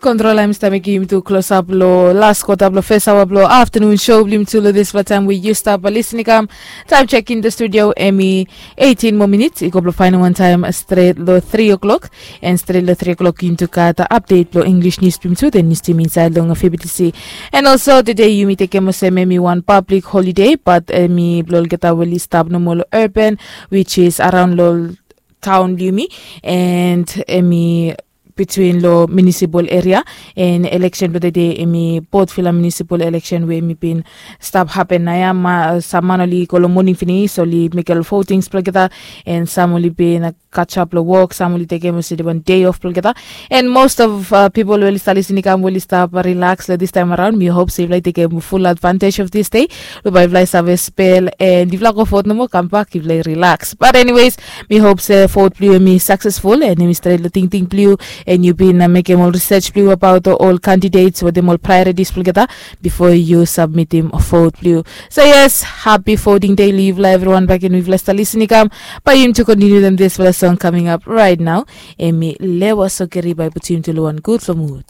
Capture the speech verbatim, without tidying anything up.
Kontrola, mi stap mekim yumi tu klosap long las kwata blong fes aoa blong aftanun show blong yumi tu long dispela taim we yu stap lisin i kam. Taim chek in the studio, em i eighteen moa minits i go blong fainal wan taim stret long three o'clock. And stret long three o'clock yumi tu gat update blong English news blong yumi tu, then news team inside long F B T C. And also today yumi tekem olsem em i wan public holiday, but em i blong olgeta we oli stap nomo long urban, which is around long town blong yumi, and em i between lo municipal area. And election blong the day em i Port Vila municipal election we em i bin stap happen na ya. Sam man oli go lo moning finis, oli mekem ol votings blong olgeta, and sam oli bin kachap lo wok, sam oli tekem olsem wan day off blong olgeta. And most of uh, people we oli stap lisin i kam, we oli stap relax lo this time around. Mi hope se yufala i tekem full advantage of this day. Lo bai yufala i save spel, and yufala go vote nomo, kam bak, yufala i relax. But anyways, mi hope se vote blong yu em i successful and em i stret lo tingting blong yu, and yu bin uh, mekem ol research blong yu about ol candidates wetem ol priorities blong olgeta before yu submitim vote blong yu. So yes, happy voting day long yufala everyone. Back in yufala stap lisin i kam, bai yumi tu continue them this for the song coming up right now. Em i Lewa Sokeri bai putum yumi tu long wan gutful mood.